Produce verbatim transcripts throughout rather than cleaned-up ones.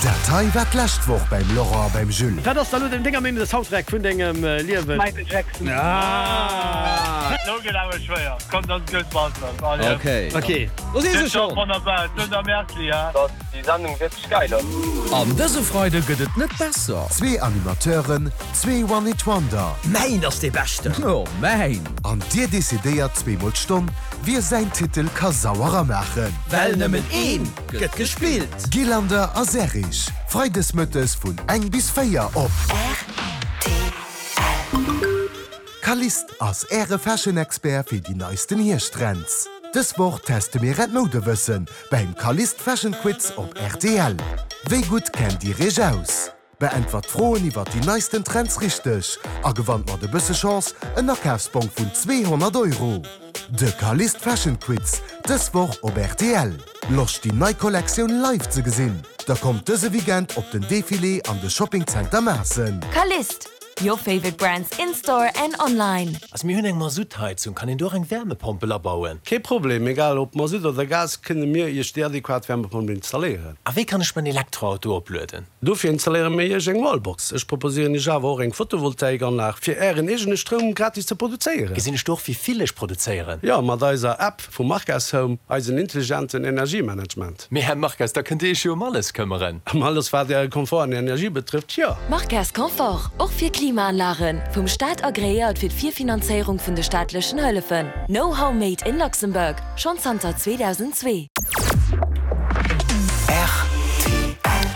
Dat hei war d'lescht Woch beim Laurent a beim Jules. Wat ass da lo denger Meenung de Soundtrack vun dengem Liewen? Michael Jackson. Ah! Lo gëtt awer schwéier. Komm, dat ass gutt, Walter. Allez. Okay. Okay. Do si se schonn. Wonnerbar. Dunn merci, ja. Dass déi Sendung wierklech geil ass. An dëse Freide gëtt et net besser. Zwee Animateuren, zwee One-Hit-Wonder. Mäin ass dee beschten! Jo, mäin! An dir decidéiert zweemol d'Stonn, wie säin Titel ka sauerer maachen. Well nëmmen een gëtt gespillt! Gillander a Serrig, freides mëttes vun eng bis véier op. Rtl. Kalist ass äre Fashion-Expert fir déi neisten Hierschttrends. Dës Woch teste mir äert Moudewëssen beim Kalist Fashion Quiz op rtl. Wéi gutt kennt dir iech aus? Beäntwert d'Froen iwwer déi neisten Trends richteg a gewannt mat e bësse Chance en Akafsbong vun zweehonnert Euro. De Kalist Fashion Quiz, dës Woch op rtl. Loscht déi nei Kollektioun live ze gesinn? Da kommt dëse Weekend op den Defilé an de Shopping Center Maassen. Kalist, your favorite brands in store and online. Also mir hunn eng Masuttheizung, kann een do och eng Wärmepompel abauen? Kee Problem, egal ob Masutt oder Gas, kënne mir Iech déi adequat Wärmepompel installéieren. A wéi kann ech mäin Elektroauto oplueden? Dofir installéiere mir Iech eng Wallbox. Ech proposéieren Iech awer och eng Photovoltaikanlag, fir Ären eegene Stroum gratis ze produzéieren. Gesinn ech do och wéi vill ech produzéieren? Jo, mat eiser App vu Markas Home, eisen intelligenten Energiemanagement. Mee Här Markas, da kënnt Dir Iech jo ëm alles këmmeren. Ëm alles wat Äre Komfort an Energie betrëfft, jo. Markas Confort, och fir Klimaanlagen, vum Staat agreéiert fir d'Virfinanzéierung vun de staatlechen Hëllefen. Know-how made in Luxembourg, schonn zanter zweedausendzwee.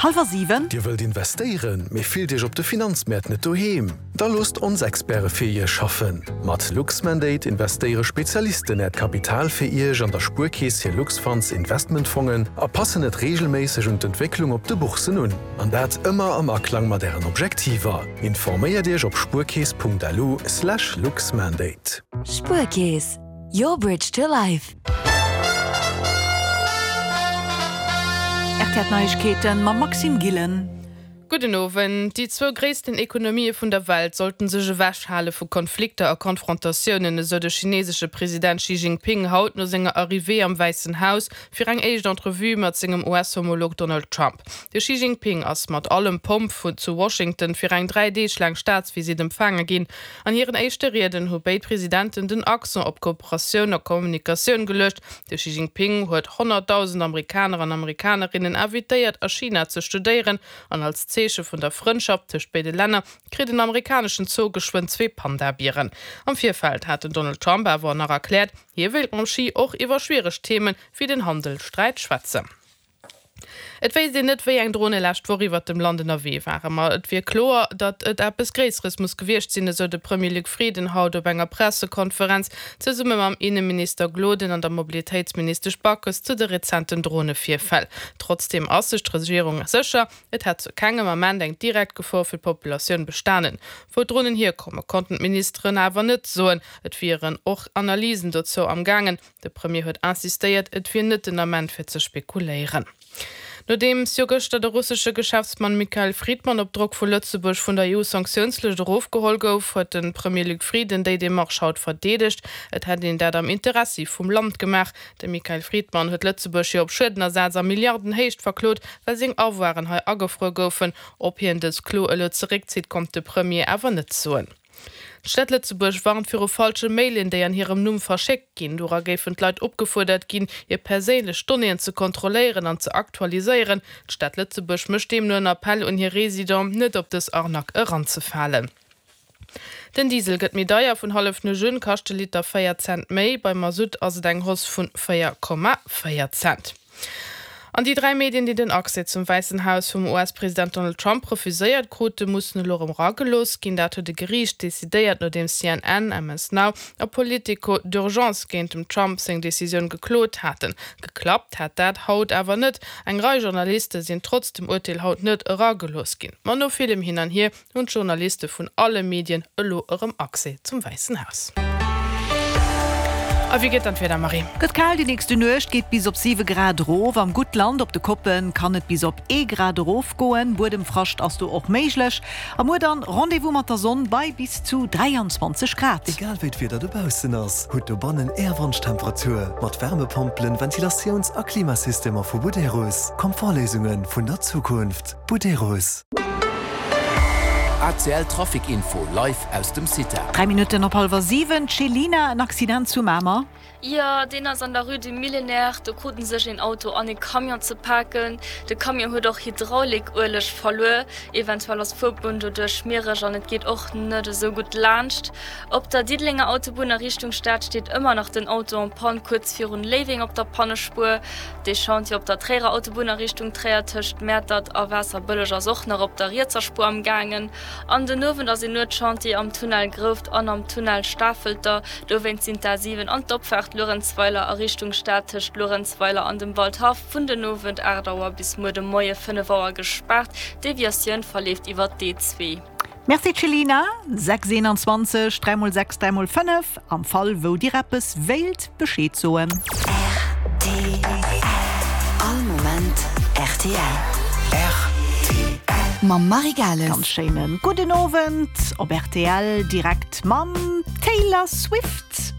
Hallwer siwen. Dir wëllt investéieren, mee fillt Iech op de Finanzmäert net doheem? Da loosst ons Experte fir Iech schaffen. Mat Luxmandate investéiere Spezialisten Äert Kapital fir Iech an der Spuerkeess hir Luxfunds Investmentfongen a passen et reegelméisseg un d'Entwécklung op de Bourssen un. An dat ëmmer am Aklang mat Ären Objektiver. Informéiert Iech op spuerkeess Punkt lu slash luxmandate. Spuerkeess, your bridge to life. R T L Neiegkeeten mam Maxime Gillen. Gudden Owend. Déi zwou gréissten Ekonomië vun der Welt sollten sech ewechhale vu Konflikter a Konfrontatiounen, esou de chinesesche President Xi Jinping haut no senger Arrivée am Wäissen Haus fir eng éischt Entrevue mat sengem U S-Homolog Donald Trump. De Xi Jinping ass mat allem Pomp vu zu Washington fir eng dräi Deeg laang Staatsvisitt empfaange ginn. An hiren éischte Rieden hu béid Presidenten den Accent op Kooperatioun a Kommunikatioun geluecht. De Xi Jinping huet honnertdausend Amerikaner an Amerikanerinnen invitéiert, a China ze studéieren, an als Zeeche vun der Frëndschaft tëscht béide Länner kritt en amerikaneschen Zoo geschwënn zwee Panda-Bieren. Am Virfeld hat den Donald Trump awer nach erkläert, hie wéilt mam Xi och iwwer schwiereg Themen wéi den Handelssträit schwätzen. Et wéisst een net, wéi eng Drone lescht Woch iwwer dem Land ënnerwee waren, ma et wier kloer, datt et eppes Gréisseres muss gewiescht sinn, esou de Premier Luc Frieden haut op enger Pressekonferenz zesumme mam Inneminister Gloden an der Mobilitéitsministesch Backes zu de rezenten Dronevirfäll. Trotzdeem ass sech d'Regierung sécher, et hätt zu kengem Ament eng direkt Gefor fir d'Populatioun bestanen. Wou d'Dronen hierkomme konnten d'Ministeren awer net soen, et wieren och Analysen dozou am gaangen. De Premier huet insistéiert, et wier net den Ament fir ze spekuléieren. Nodeems jo gëschter de russesche Geschäftsmann Mikhail Fridman op Drock vu Lëtzebuerg vun der E U-Sanktiounslëscht erofgeholl gouf, huet de Premier Luc Frieden déi Demarche haut verdeedegt. Et hätt een dat am Interessi vum Land gemaach. De Mikhail Fridman huet Lëtzebuerg jo op Schuedenersaz a Milliardenhéicht verklot, well seng Avoiren hei agefruer goufen. Ob hien dës Klo elo zeréckzitt, konnt de Premier awer net soen. D'Stad Lëtzebuerg warnt viru falsche Mailen, déi an hirem Numm verschéckt ginn. Dora géifen d'Leit opgefuerdert ginn, hir perséinlech Donnéeën ze kontrolléieren an ze aktualiséieren. D'Stad Lëtzebuerg mécht deemno en Appell un hir Residenten, net op dës Arnaque eranzefalen. Den Diesel gëtt méi deier, vun Hallefnuecht un kascht de Liter véier Cent méi, beim Masutt ass et eng Hausse vun véier Komma véier Cent. An déi dräi Medien, déi den Accès zum Wäissen Haus vum U S-President Donald Trump refuséiert krute, mussen elo erëm eragelooss ginn. Dat huet e Geriicht decidéiert, nodeems C N N, M S Now a Politico d'urgence géint dem Trump seng Decisioun geklot haten. Geklappt hat dat haut awer net. Eng Rei Journaliste sinn trotz dem Urteel haut net eragelooss ginn. Ma no villem Hin an Hier hunn d'Journaliste vun alle Medien elo erëm Accès zum Wäissen Haus. A wéi gëtt dann d'Wieder, Marie? Gëtt kal, déi nächste Nuecht geet bis op siwe Grad erof. Am Guttland op de Koppen kann et bis op ee Grad erofgoen, Buedemfrascht ass do och méiglech. A muer dann Rendez-vous mat der Sonn bei bis zu dräianzwanzeg Grad. Egal wéi d'Wieder dobaussen ass, hutt dobannen Är Wonschtemperatur mat Wärmepompelen, Ventilatiouns a Klimasystemer vu Buderus. Komfortléisunge vun der Zukunft. Buderus. A C L Trafic Info live aus dem CITA. Dräi Minutten op hallwer siwen, Céline, en Accident zu Mamer. Jo, deen ass an der Rue du Millénaire. Do kruten sech een Auto an ee Camion ze paken. De Camion huet och Hydraulikueleg verluer. Eventuell ass d'Fuerbunn doduerch schmiereg an et geet och net esou gutt laanscht. Op der Diddelenger Autobunn a Richtung Stad steet ëmmer nach den Auto en panne kuerz virun Léiweng op der Pannespuer. De Chantier op der Tréierer Autobunn a Richtung Tréier tëscht Mäertert a Waasserbëlleg ass och nach op der rietser Spuer am gaangen. An den Owend ass een Nuetschantier am Tunnel Grouft an am Tunnel Stafelter. Dowéinst sinn d'A siwen an d'Opfaart Luerenzweiler a Richtung Stad tëscht Luerenzweiler an dem Waldhaff vun den Owend aacht Auer bis muer de Moie fënnef Auer gespaart. D'Deviatioun verleeft iwwer d'E zwee. Merci Céline. Sechs eenanzwanzeg, dräi mol sechs, dräi mol fënnef, am Fall wou Dir eppes wéilt Bescheed soen. Rtl. All Moment rtl. Rtl. Mam Marie Gales. Ganz schéinen gudden Owend op rtl, direkt mam Taylor Swift.